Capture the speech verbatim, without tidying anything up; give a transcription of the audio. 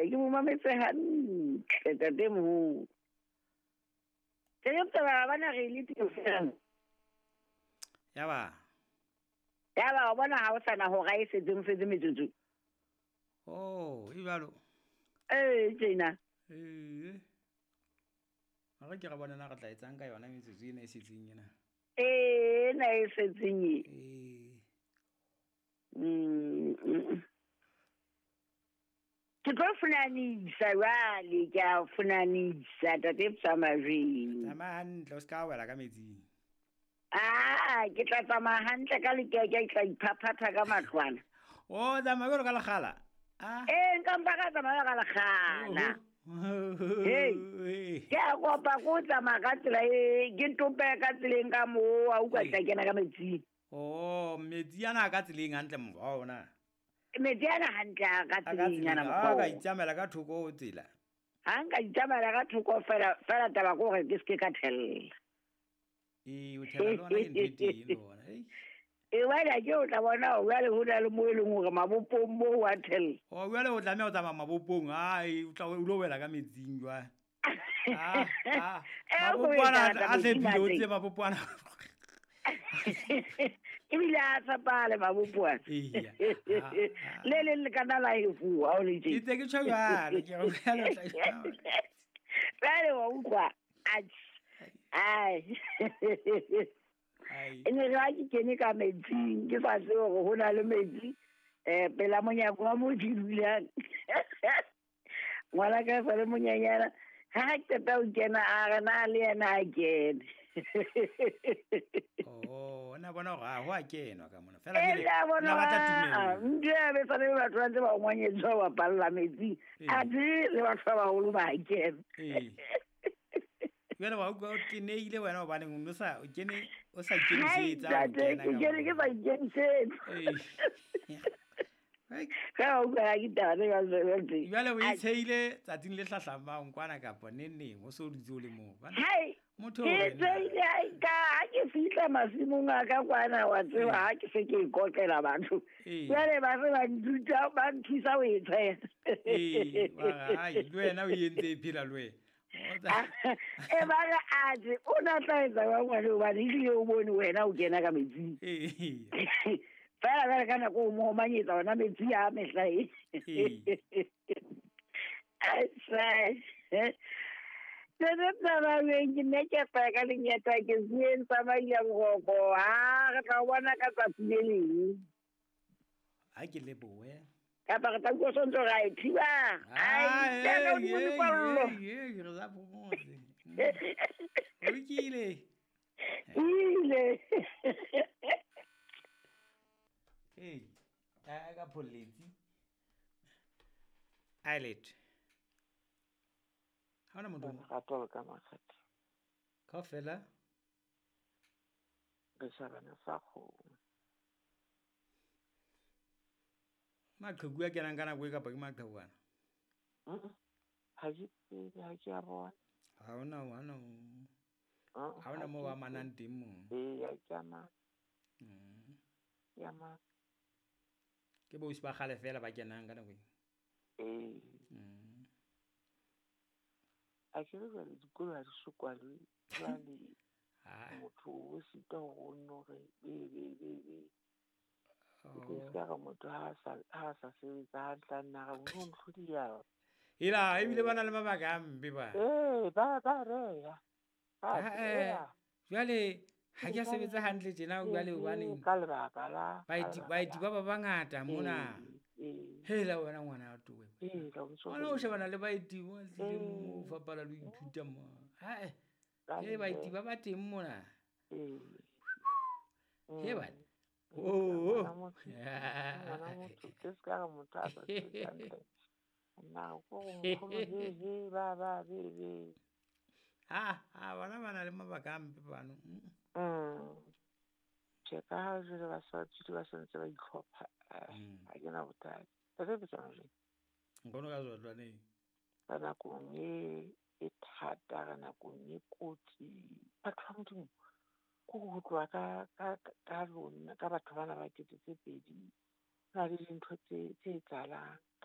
Ke mo mametse hantle ntatemoholo. Ke taba bana re le teng fela. Yaba. Yaba o bona ha o sana hora e setseng setse metsotso. Oh, e jwalo. Eh, tjena. Eh. A re ke re bona na re tla etsang ka yona metsotso ena e setseng ena. Eh, na e setseng e. Eh. Mm. Ke tlo funanisa jwale, ke a funanisa tate Tsamajeng. Tsamaya hantle, o ska wela ka metsing. Ah, ke tla tsamaya hantle ka lekeke, ke tla iphaphatha ka matlwana. Oh, tsamaya jwalo ka lekgala. Ah. Eh, nka mpa ka tsamaya ka lekgala. Hey. Ke a kopa ko tsamaya ka tsela e, ke tope ka tseleng ka moo, a utlwa tla kena ka metsing. Oh, metsi ana ka tseleng hantle mokgwa ona. Metsi ana hantle a ka tseleng ana mokgwa. Ah, ka itsamaela ka thoko ho tsela. Ha nka itsamaela ka thoko fela, fela taba ke hore ke ske ka thella. Ee, o thella le hona ke ntho e teng le hona. Ei. E wena ke o tla bona hore jwale ho na le moo e leng hore mabopong moo wa thella. Oh, jwale o tlameha ho tsamaya mabopong. Ai, o tla o lo wela ka metsing jwale. Ah, ah. Mabopo ana a hlephile, o tsebe mabopo ana. Ebile a tshepahale mabopo ana. Eya. Le leng le kana la hefuwa ha o le tje. Ke ntse ke tjho jwalo, ke re jwale o tla Jwale wa utlwa. Ai. Ai. E ne re ha ke kene ka metsing, ke sa tsebe hore ho na le metsi eh pela monyako wa moo ke dulang. Ngwana ka sa le monyenyana, ha ke qeta ho kena a re na le yena a kene. Oh, na bona hore ha ho a kenwa ka mona. Fela Eh, jwale, la bona na batla ba- tumello. Ntho ya be sa le batho ba ntse ba ngwanyetswa ba bapalla metsing. Ee. Athe le batho ba baholo ba kena. Ee. Jwale wa utlwa o tenehile wena hobaneng o no sa o kene o sa Hai, ikemisetsa ho ntate, kena ke ka kene ke moo. sa ikemisetsa. Ee. Ai. Ka wa utlwa ha ke taba tse jwalo tse. Jwale o Ai. itshehile tsatsing le hlahlamang kwana kapa neng neng o so dutse o le moo. Bana, Hai, motho ke o re na. tsehile ha ka ha ke fihla masimong a ka kwana wa tseba ha ke se ke ikotlela batho. Ee. Jwale ba se ba nthuta, ba nthusa ho e tsheha. Ee, wa re, ai, le wena o entse e phela le wena. O tsa- E ba re atjhe, o na tla etsa jwang ngwane hobane ehlile o bone wena o kena ka metsing. Ee. Fela jwale ka nako o mo omanyetsa ona metsi a mehla e. Ee. Ai, sai. Tse tsamayeng ke ne ke fela ka lenyata ke sieng tsamaile boroko. Ha re tla o bona ka tsatsi le leng. Ha ke lebohe. Kapa re tla utlwa sontso ra e thiba. Ai, Ah, tena ee, hodimo ee, dikwallo. ee, ee, re sa phomotse. Ho lokile. Ile. Ee, a ka pholletsi. Eyelet. Ha hona motho o mong? Lerato le ka makgethe. Kaofela? Re shebana sa kgomo. Maqheku a kenang ka nako e kapa ke maqheku ana? Mm-mm. Ha ke tsebe, ha ke a bona. Ha hona, ha hona, Uh-uh, ha hona ha moo ke ba tsebe. amanang teng moo. Ee, ha ke amane. Mm. Ke amane. Ke boausi ba kgale fela ba kenang ka nako e. Ee. Mm. A ke re jwale dikolo ha di so kwalwe, jwale Ah. motho o sitwa hore o nno re be, be, be, be. Ke tlo Oh. ska re motho ha a sa, ha a sa sebetsa hantle a nna re o no ntlhodiya. Ela, ebile ba na le mabaka a mpe ba. Ee, ba, ba reya. Ba Ha, eh, reya. jwale ha ke a Jwale sebetsa hantle tjena jwale hobaneng? Ka lebaka la, ka Baeti, lebaka baeti la. ba ba bangata mona. Ee, ee. Hela wena ngwana wa towe. Ee, la utswa Ngwana o ho- shebana le baeti ba tlileng moo, Ee. fapana le ho ithuta mo. Ha, eh. Ka He, baeti le- ba ba teng mona. Ee. He Mm. bana. Oh, Ngwana motho, ngwana motho, ke ska re motho a sa sebetsa hantle. Nna ko go nkgono he, he, ba, ba, be, be. Ha, ha, bona ba na le mabaka a mpe bano. Mm. Mm. Tjhe, ka ha jwale ba sa tswile ba santse ba itlhopha, eh, Mm. ha ke na bothata. Tate ke tsona jwang? Nkgono ka tswa Ka nakong e, e thata, ka nakong e kotsi. Batho ba Modimo, ko ho tloha ka, ka, ka lona, ka batho bana ba kete tse pedi, ho na le dintho tse, tse etsahalang.